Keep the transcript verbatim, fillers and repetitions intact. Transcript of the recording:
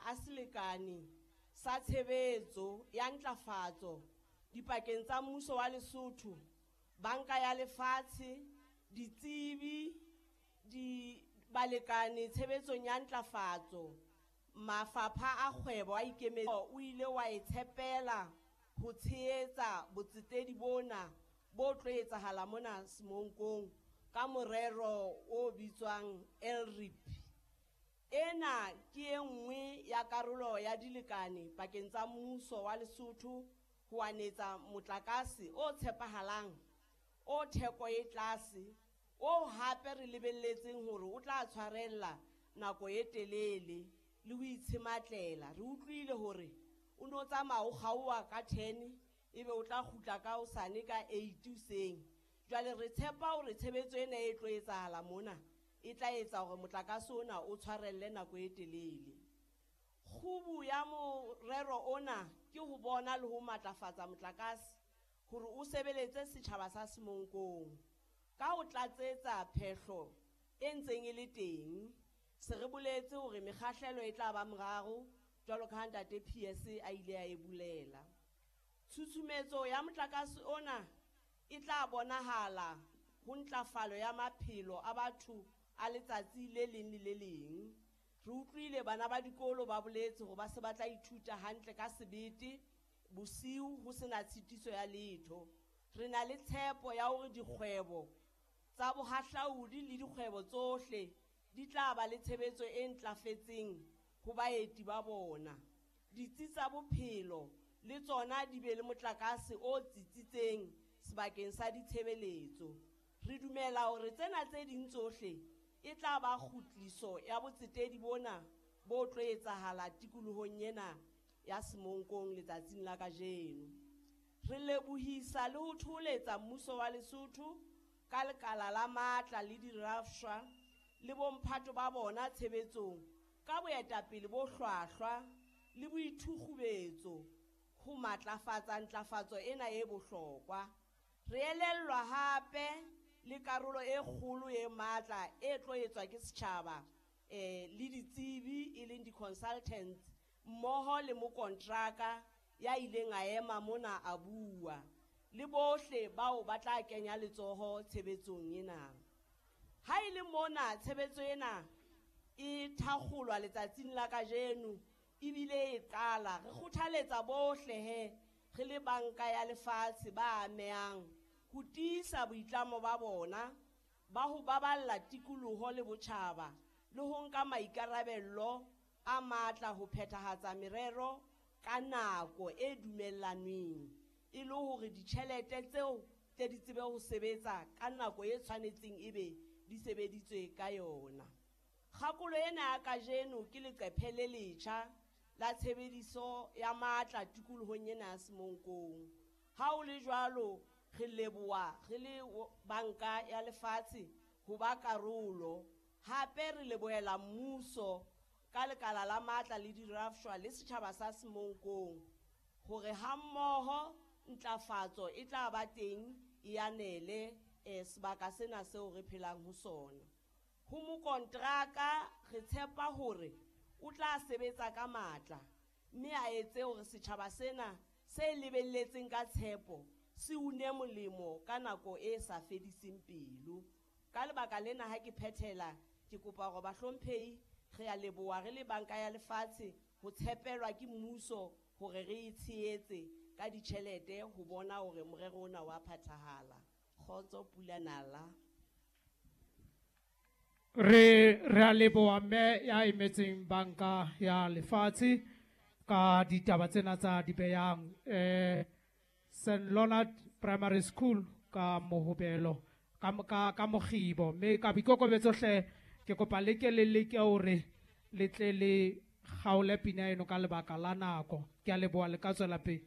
a selekane sa tshebetso ya ntlafatso dipakeng tsa mmuso wa Lesotho, Banka ya Lefatshe, ditsebi, di balekane tshebetsong ya ntlafatso, mafapha a kgwebo a ikemetseng o ile wa e tshepela ho tshehetsa botsetedi bona bo tlo etsahala mona Semonkong ka morero o bitswang L R I P. Ena ke e nngwe ya karolo ya dilekane pakeng tsa mmuso wa Lesotho ho anetsa motlakase o tshepahalang, o theko e tlase, o hape re lebelletseng hore o tla tshwarella nako e telele le ho itshematlela. Re utlwile hore o no tsamaya o kgaoha ka ten ebe o tla kgutla ka hosane ka eight hoseng. Jwale re tshepa hore tshebetso ena e tlo etsahala mona e tla etsa hore motlakase ona o tshwarelle nako e telele. Kgubu ya morero ona ke ho bona le ho matlafatsa motlakase hore o sebeletse setjhaba sa Semonkong ka ho tlatsetsa phehlo e ntseng e le teng. Se re boletse hore mekgahlelo e tla ba moraro jwalo ka ha ntate P S a ile a e bulela. Tshusumetso ya motlakase ona e tla bonahala ho ntlafalo ya maphelo a batho a letsatsi le leng le le leng. Re utlwile bana ba dikolo ba boletse hore ba se ba tla ithuta hantle ka sebete bosiu ho sena tshitiso ya letho. Re na le tshepo ya hore dikgwebo tsa bohahlaudi le dikgwebo tsohle di tla ba le tshebetso e ntlafetseng ho baeti ba bona. Ditsi tsa bophelo le tsona di be le motlakase o tsitsitseng sebakeng sa ditshebeletso. Re dumela hore tsena tse ding tsohle e tla ba kgutliso ya botsetedi bona bo tlo etsahala tikolohong ena ya Semonkong letsatsing la kajeno. Re lebohisa le ho thoholetsa mmuso wa Lesotho ka lekala la matla le dirafshwa le bomphato ba bona tshebetsong ka boetapele bo hlwahlwa le boithukgubetso ho matlafatsa ntlafatso ena e bohlokwa. Re elellwa hape le karolo e kgolo e matla e tlo etswa ke setjhaba eh le ditsebi e leng di-consultants mmoho le mokontraka ya ileng a ema mona a bua le bohle bao ba tla kenya letsoho tshebetsong ena. Ha e le mona tshebetso ena e thakgolwa letsatsing la kajeno ebile e qala, re kgothaletsa bohle he re le Banka ya Lefatshe ba amehang ho tiisa boitlamo ba bona ba ho baballa tikoloho le botjhaba le ho nka maikarabelo a matla ho phethahatsa merero ka nako e dumellanweng e le hore ditjhelete tseo tle di tsebe ho sebetsa ka nako e tshwanetseng ebe di sebeditswe ka yona. Kgakolo ena ya kajeno ke leqephe le letjha la tshebediso ya matla tikolohong ena ya Semonkong. Ha ho le jwalo, re leboha re le Banka ya Lefatshe ho ba karolo. Hape re lebohela mmuso ka lekala la matla le dirafshwa le setjhaba sa Semonkong hore hammoho ntlafatso e tla ba teng e anele eh, sebaka sena seo re phelang ho sona. Ho mokontraka re tshepa hore o tla sebetsa ka matla mme a etse hore setjhaba sena se lebelletseng ka tshepo se une molemo ka nako e sa fediseng pelo. Ka lebaka lena ha ke phethela ke kopa hore bahlomphehi re a leboha re le Banka ya Lefatshe ho tshepelwa ke mmuso hore re e tshehetse ka ditjhelete ho bona hore morero ona wa phethahala. Kgotso pula nala. Re re a leboha mme ya emetseng Banka ya Lefatshe ka ditaba tsena tsa di behang eh Saint Leonard Primary School ka Mohobelo ka ka ka Mokgibo, mme ka boikokobetso hle ke kopa le ke le leke hore le tle le kgaole pina eno ka lebaka la nako. Ke a leboha, le ka tswela pele.